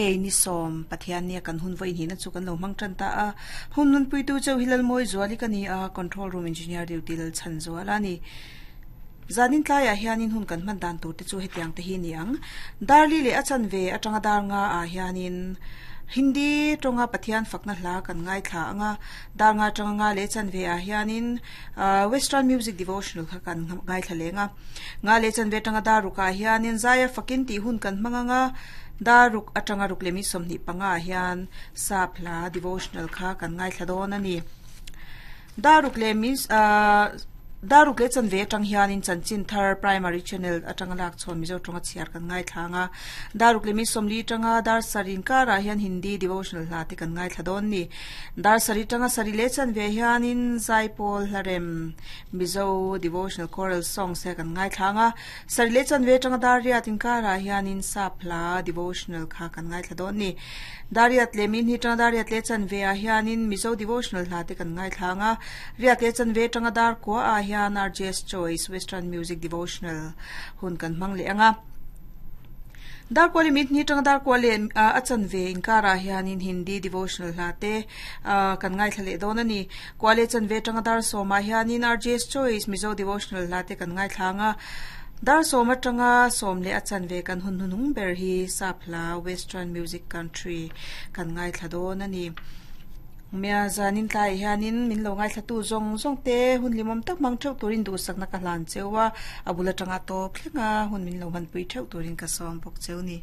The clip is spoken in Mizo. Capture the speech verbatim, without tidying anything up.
Ni sawm Pathian nia kan hun vawiin hina chu kan lo hmang tan ta a hun nun puitu cheu hilal mawi zuali ka ni a control room engineer duty lal chan zuala ni zanin tlaiah hianin hun kan hman dan tur te chu hetiang te hi ni ang darli leh a chan ve atanga dar nga ah hianin Hindi tonga Pathian fakna hla kan ngai thla anga dar nga tanga nga le chan ve ah hianin western music devotional kha kan ngai thla lenga nga le chan ve tanga dar ruka hianin zaya fakin ti hun kan hmanganga daruk atanga ruk lemi somni panga hian sapla devotional kha kan ngai thla dawn ani daruk le means daruk le chan ve tang hianin chanchin thar primary channel atanga lak chon mizo tonga chiar kan ngai thlanga daruk le mi somli tanga dar sarin kara hian hindi devotional hla te kan ngai thla dawn ni dar sari tanga sari le chan ve hianin zaipol hlarem mizo devotional choral song se kan ngai thlanga sari le chan ve tanga dar riatin kara hianin sapla devotional kha kan ngai thla dawn ni dariat le min hi tanga dariat le chan ve a hianin mizo devotional hla te kan ngai thlanga riat le chan ve tanga dar ko a hian R J S Choice Western Music Devotional hun kan hmang le anga dar kwali mit ni tang dar kwali a chan ve inkara hianin Hindi devotional hla te kan ngai thlale dawn ani kwali chan ve tang dar soma hianin R J S Choice Mizo devotional hla te kan ngai thlanga dar soma tanga som le a chan ve kan hun hunung ber hi sapla Western Music Country kan ngai thla dawn ani mia zanin tlai hianin min lo ngai thlatu zong zong te hun limom tak mang theu turin du sakna ka hlan chewa abula tanga top thlenga hun min lo han pui theu turin ka som bok cheu ni.